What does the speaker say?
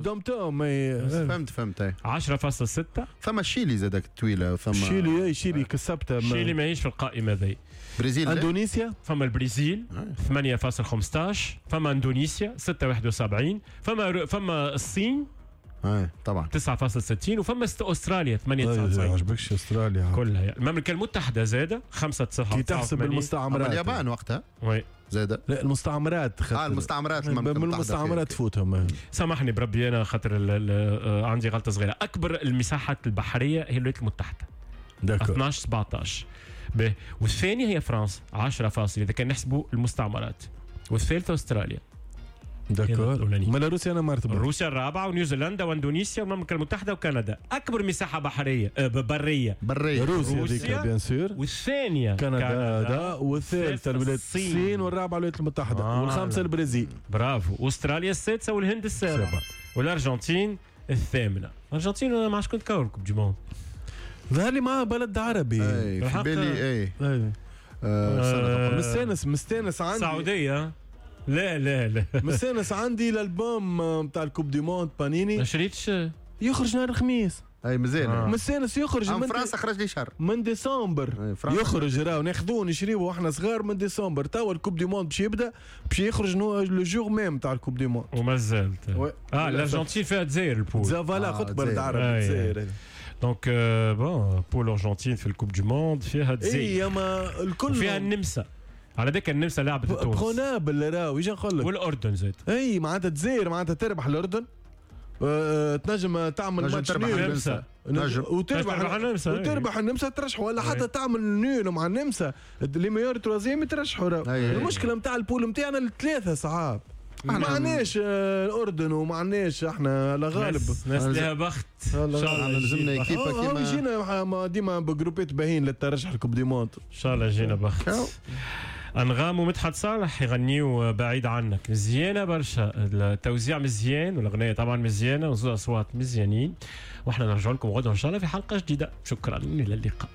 DOM-TOM. فهمت فهمت. 10.6. ثم شيلي زادك طويله. ثم شيلي، اي شيلي كسبتها. شيلي ماهيش في القائمة ذي. برازيل. اندونيسيا. فما البرازيل 8.15، فما اندونيسيا 6.71، فما الصين اي طبعا 9.60، وفما استراليا 8.99. ما عجبكش استراليا؟ كلها. المملكة المتحدة زاده 5 9. كي تحسب المستعمرات. اليابان وقتها oui زاده. لا، المستعمرات. المستعمرات. المستعمرات تفوتهم. سامحني بربي، انا خاطر عندي غلطه صغيره. اكبر المساحات البحرية هي الولايات المتحده 12 17 به، والثانية هي فرنسا 10 فاصل اذا كان نحسبوا المستعمرات، والثالثة استراليا. d'accord، مالا روسيا انا مرتبه؟ روسيا الرابعه، ونيوزيلندا واندونيسيا والمملكة المتحدة وكندا. اكبر مساحة بحرية بريه؟ بريه. روسيا، روسيا bien sûr. والثانية كندا، كندا، والثالثة الولايات الصين، والرابعة الولايات المتحده، والخامسة البرازيل. برافو. استراليا السادسة والهند السابعة والارجنتين الثامنه. الارجنتين مع شكون تكور Coupe du Monde؟ ظهر لي مع بلد عربي. اي، في بالي اي. مستانس مستانس عندي. السعوديه؟ لا لا لا. مستانس عندي الالبوم نتاع ال Coupe du Monde بانيني. ما شريتش؟ يخرج نهار الخميس. اي مازال. مستانس يخرج. من فرنسا خرج لي شهر. من ديسمبر يخرج، راهو ناخذوه نشريوه واحنا صغار من ديسمبر. توا ال Coupe du Monde باش يبدا، باش يخرج le jour même تاع ال Coupe du Monde. وما زالت الارجنتين فيها الجزائر ال poule. voilà، قلت بلد عربي، الجزائر. donc bon، poule ارجنتين في ال Coupe du Monde فيها الجزائر. اي ما الكل. فيها النمسا، على ذاك النمسا لعبت تونس. prenable راهو، يجي نقول لك. والاردن زاد. اي معناتها الجزائر معناتها تربح الاردن، تنجم تعمل ماتش nul النمسا. وتربح النمسا. وتربح النمسا ترشح، ولا حتى تعمل nul مع النمسا، les meilleurs troisièmes يترشحوا. المشكلة نتاع ال poule نتاعنا الثلاثة صعاب، ما عندناش الاردن وما عندناش احنا لا غالب. ناس لها بخت. ان شاء الله لازمنا équipe كيما يجينا ديما ب groupe ات باهين للترشح ال Coupe du Monde. ان شاء الله يجينا بخت. انغام ومدحت صالح يغنيوا بعيد عنك، مزيانه برشا، التوزيع مزيان والاغنية طبعا مزيانه وزوز اصوات مزيانين. واحنا نرجع لكم غدا ان شاء الله في حلقة جديده. شكرا، الى اللقاء.